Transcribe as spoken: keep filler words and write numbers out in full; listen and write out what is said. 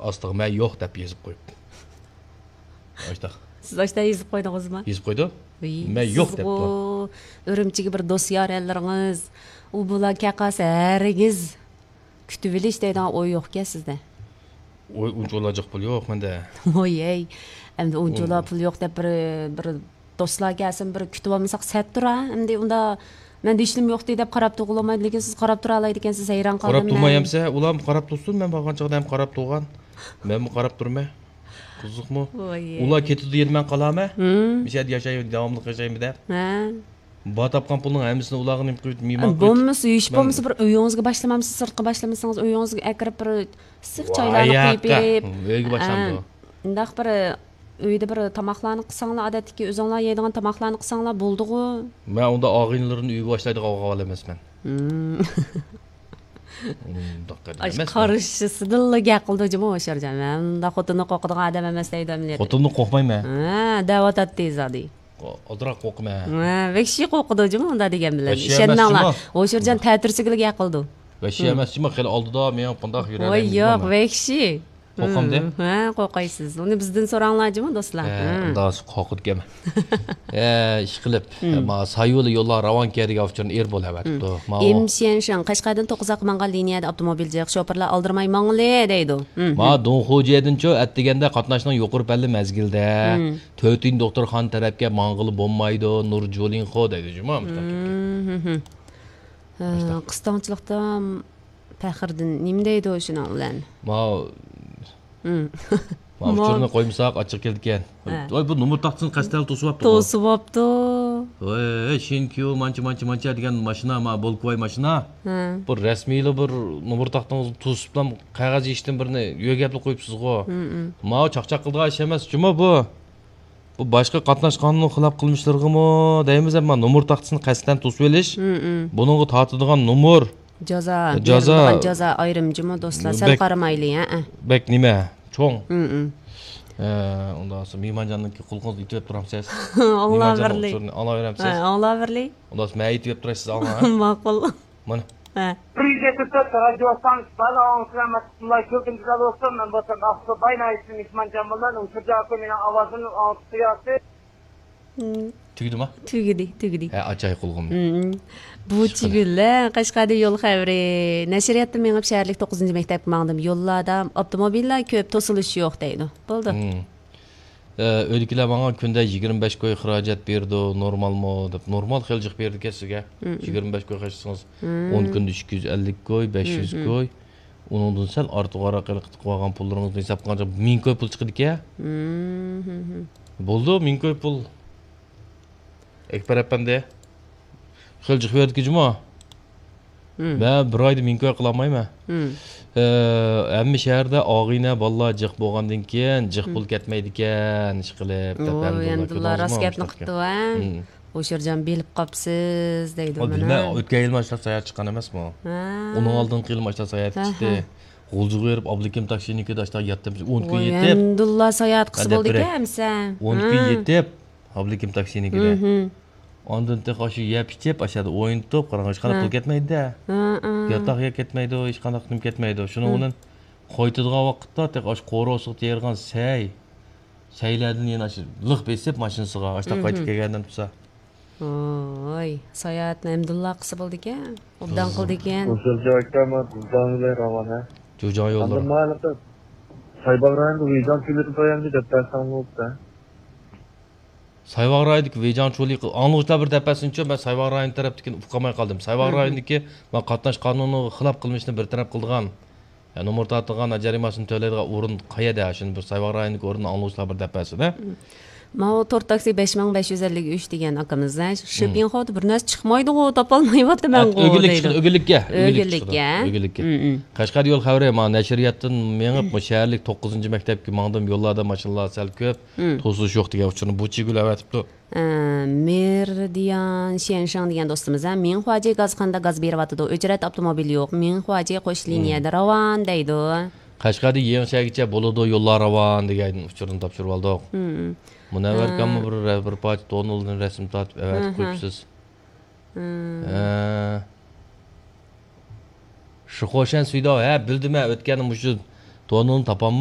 ئاستىغا مەن يوق دەپ يېزىپ قويۇپتۇ. ئاشتاق. سىز ئاشتا يېزىپ قويدىڭىزمۇ؟ يېزىپ قويدۇ. ۋىي، مەن يوق دەپتۇ. ئۈرۈمچىگە بىر دوست يارەنلىرىڭىز، ئۇ بۇلار كەقاس ھەرگىز كۈتۈۋېلىش دەيدىغان ئوي يوقكەن سىزدە. ئۇنچىۋالا جىق پۇل يوق مەندە. ۋوي ھەي، ئەمدى ئۇنچىۋالا پۇل يوق دەپ بىر، بىر دوستلار كەلسۇن، بىر كۈتۈۋالمىساق سەتتۇرا. ئەمدى ئۇندا مەندە ھېچنېمە يوقتى دەپ قاراپ تۇرغىلى بولمايدۇ، لېكىن سىز قاراپ تۇرالايدىكەنسىز، ھەيران قالدىم. قاراپ تۇرماي ئەمسە، ئۇلار قاراپ تۇرسۇن، مەن بارغان چاغدا ھەم قاراپ تۇرغان. مەنمۇ قاراپ تۇرمەن. قىزىقمۇ؟ ۋوي. ئۇلار كېتىدۇ يەنە مەن قالامەن؟ مۇشۇ يەردە ياشايمەن، داۋاملىق ياشايمەن دەپ. ھە. بار تاپقان پۇلنىڭ ھەممىسىنى ئۇلارغا نېمە قىلىپ مېھمان قىلىپ، بولمىسا، ھېچ بولمىسا بىر ئۆيىڭىزگە باشلىمامسىز، سىرتقا باشلىمىسىڭىز، ئۆيىڭىزگە ئەكىرىپ بىر ئىسسىق چايلارنى قۇيۇپ بېرىپ. ئۆيگە باشلامدۇ؟ ئە، ئۇنداق بىر ئۆيدە بىر تاماقلارنى قىلساڭلار، ئادەتتىكى ئۆزۈڭلار يەيدىغان تاماقلارنى قىلساڭلار بولدىغۇ. مەن ئۇنداق ئاغىنىلىرىنى ئۆيگە باشلايدىغان ئاغا ئەمەسمەن. ئۇنداق ئەمەسمەن. قارشىسىدىنلا گەپ قىلىدۇ جۇمۇ ھوشيارجان. مەن ئۇنداق خوتۇننى قورقىدىغان ئادەم ئەمەس دەيدۇ ئەمەلىيەتتە. خوتۇننى قورقمايمەن. ھە، دەۋاتاتتى زادى. ئازراق قورقىمەن. ھە، ۋەھشىي قورقىدۇ جۇمۇ ئۇنداق دېگەن بىلەن. ئىشەنمەڭلار. ھوشيارجان تەتۈرسىگىلا گەپ قىلىدۇ. ۋەھشىي ئەمەس جۇمۇ، خېلى ئالدىدا مېڭىپ بۇنداق يۈرەلەيمىز. ۋاي ياق، ۋەھشىي. قورقامدۇ؟ ھە، قورقايسىز. ئۇنى بىزدىن سوراڭلار جۇمۇ دوستلار. ھە، ئۇنداق قورقىدىكەنمەن. ئە، ئىشقىلىپ، ما سايۇلى يوللار راۋانكى دېگەن ئۇچۇرنى ئېرى بولۇۋەتىپتۇ. ئىم شيەنشىڭ، قەشقەردىن توققۇزاققا ماڭغان لىنىيەدە ئاپتوموبىل جىق، شوپۇرلار ئالدىرىماي ماڭىلى دەيدۇ. ما دۇڭخۇجيەدىنچۇ ئەتىگەندە قاتناشنىڭ يۇقىرى پەللى مەزگىلدە تۆتىنچى دوختۇرخانا تەرەپكە ماڭغىلى بولمايدۇ، نۇر جۇلىنخو دەيدۇ جۇمۇ. قىستاڭچىلىقتا پەخرىدىن نېمە دەيدۇ شۇنىڭ بىلەن؟ ماۋۇ. ماۋۇ ئۇچۇرنى قويمىساق ئاچچىق كېلىدىكەن. ۋاي، بۇ نومۇر تاختىسىنى قەستەن توسۇۋاپتۇ. توسۇۋاپتۇ. ۋاي، شىنكيۇ مانچە، مانچە، مانچە دېگەن ماشىنا، ما بولكىۋاي ماشىنا. بۇ رەسمىيلا بىر نومۇر تاختىڭىزنى توسۇپلا قەغەز يېشىتتىن بىرنى يۆگەپلا قويۇپسىزغۇ. ماۋۇ چاقچاق قىلىدىغان ئىش ئەمەس جۇمۇ بۇ. بۇ باشقا قاتناش قانۇنىغا خىلاپ قىلمىشلىرىغىمۇ دەيمىز، ئەمما نومۇر تاختىسىنى قەستەن توسۇۋېلىش، بۇنىڭغا تارتىدىغان نومۇر، جازا، جازا. بېرىلىدىغان جازا ئايرىم جۇمۇ دوستلار، سەل قارىمايلى، ھە. بەك نېمە، چوڭ. ئە، ئۇنداق بولسا مېھمانجاننىڭكى قۇلىقىڭىزنى ئېتىۋەپ تۇرامسىز؟ ئاڭلاۋېرىلى. ئاڭلاۋېرەمسىز؟ ھە، ئاڭلاۋېرىلى. ئۇنداق بولسا مەن ئېيتىپ بېرەي، سىز ئاڭلاڭ، ھە؟ ماقۇل. مانا. ھە. بىر يۈز يەتمىش تۆت رادىيو ئىستانسىسى بار، ئاڭلىسىلەر، مەقسەتۇللا كۆپىنچە بولسۇن، مەن بولسام ئاقسۇ باي ناھىيەسىدىن مېھمانجان بولىمەن، ئۇ شۇجا ئاكا مېنىڭ ئاۋازىمنى ئاڭلىتىپ قوياتتى. تۈگىدىما؟ تۈگىدى، تۈگىدى. ھە، ئاچاي قۇلىقىمنى. بۇ چۈگۈلە قەشقەردە يول خەۋىرى. نەشرىياتتا مېڭىپ شەھەرلىك توققۇزىنچى مەكتەپكە ماڭدىم. يوللاردا ئاپتوموبىللار كۆپ، توسۇلۇش يوق دەيدۇ. بولدى. ئە، ئۆيدىكىلەر ماڭا كۈندە يىگىرمە بەش كوي خىراجەت بېرىدۇ، نورمالمۇ دەپ. نورمال خېلى جىق بېرىدىكەن سىزگە. يىگىرمە بەش كوي خەجلىسىڭىز، ئون كۈندە ئىككى يۈز ئەللىك كوي، بەش يۈز كوي. ئۇنىڭدىن سەل ئارتۇقراق ھېلىقى قىلىۋالغان پۇللىرىڭىزنى ھېسابقا قىلغاندا مىڭ كوي پۇل چىقىدىكەن. بولدى، مىڭ كوي پۇل. ئەكبەر ئەپەندى، خېلى جىق بېرىدىكەن جۇمۇ. مەن بىر ئايدا مىڭ كوي قىلالمايمەن. ئە، ھەممە شەھەردە ئاغىنە بالىلار جىق بولغاندىن كېيىن جىق پۇل كەتمەيدىكەن، ئىشقىلىپ، دەپ ھەمدۇللا، راست گەپنى قىپتۇ، ھە؟ ھوشيارجان بىلىپ قاپسىز دەيدۇ مانا. بىلمەن، ئۆتكەن يىلمۇ ئاشۇنداق ساياھەت چىققان ئەمەسمۇ؟ ئۇنىڭ ئالدىنقى يىلمۇ ئاشۇنداق ساياھەت چىقتى. غۇلجىغا بېرىپ ئابلىكىم تاكسىنىڭكىدا ئاشۇنداق ياتتىم، ئون كۈن يېتىپ. ھەمدۇللا ساياھەت قىلسا بولىدىكەن ئەمسە. ئون كۈن يېتىپ، ئابلىكىم تاكسىنىڭكىدە. ئاندىن تېخى ئاشۇ يەپ ئىچىپ، ئاشۇ يەردە ئوينىتىپ، قاراڭ، ھېچقانداق پۇل كەتمەيدۇ-دە. ياتاق يەر كەتمەيدۇ، ھېچقانداق نېمە كەتمەيدۇ. شۇنىڭ بىلەن قايتىدىغان ۋاقىتتا تېخى ئاشۇ قورۇسىغا تېرىغان سەي، سەيلەردىن يەنە ئاشۇ لىق بېسىپ ماشىنىسىغا، ئاشۇنداق قايتىپ كەلگەندىن تۇرسا. ۋوي، ساياھەتنى ھەمدۇللا قىلسا بولىدىكەن. ئوبدان قىلىدىكەن. ھوشيارجان ئاكا، ما جۇجاڭ بىلەن راۋان، ھە؟ جۇجاڭ يوللىرى. ئاندىن ما ھېلىقى سايباغ رايونىدا ۋېيجاڭ چۆلىدىن تويامدى دەپ بەرسەڭ بولۇپتۇ. سايباغ رايونىدىكى ۋېيجاڭ چۆلى، ئاڭلىغۇچىلار بىر دەپ بەرسۇنچۇ، مەن سايباغ رايونى تەرەپتىكىنى ئۇقالماي قالدىم. سايباغ رايونىدىكى ما قاتناش قانۇنىغا خىلاپ قىلمىشنى بىر تەرەپ قىلىدىغان، يا نومۇر تارتىدىغان، جەرىمانىسىنى تۆلەيدىغان ئورۇن قەيەردە؟ شۇنى بىر سايباغ رايونىدىكى ئورۇننى ئاڭلىغۇچىلار بىر دەپ بەرسۇن، ھە؟ ماۋۇ تور تاكسى بەش مىڭ بەش يۈز ئەللىك ئۈچ دېگەن ئاكىمىز، ھە، شىپىنخودا بىر نەرسە چىقمايدىغۇ، تاپالمايۋاتىمەنغۇ دەيدۇ. ئۆگۈنلۈككە، ئۆگۈنلۈككە، ئۆگۈنلۈككە. قەشقەر يول خەۋىرى، ما نەشرىياتتىن مېڭىپ، مۇ شەھەرلىك توققۇزىنچى مەكتەپكە ماڭدىم، يوللاردا ماشىنىلار سەل كۆپ، توسۇلۇش يوق دېگەن ئۇچۇرنى بۇ چىگۈل ئەۋەتىپتۇ. ئە، مېرىدىيان شيەنشاڭ دېگەن دوستىمىز، ھە، مىڭخۇاجى گازخانىدا گاز بېرىۋاتىدۇ، ئۆچرەت ئاپتوموبىل يوق، مىڭخۇاجى قوش لىنىيەدە راۋان دەيدۇ. قەشقەردىن يېڭىچەگىچە بولىدۇ، يوللار راۋان دېگەن ئۇچۇرنى تاپشۇرۇۋالدۇق. مۇنەۋۋەر ئاكاممۇ بىر، بىر پارچە تونۇلدىن رەسىم تارتىپ ئەۋەتىپ قويۇپسىز. ھە. شىخوشەن سۈيداۋ، ھە، بىلدىم، ھە، ئۆتكەندە مۇشۇ تونۇلنى تاپالماي.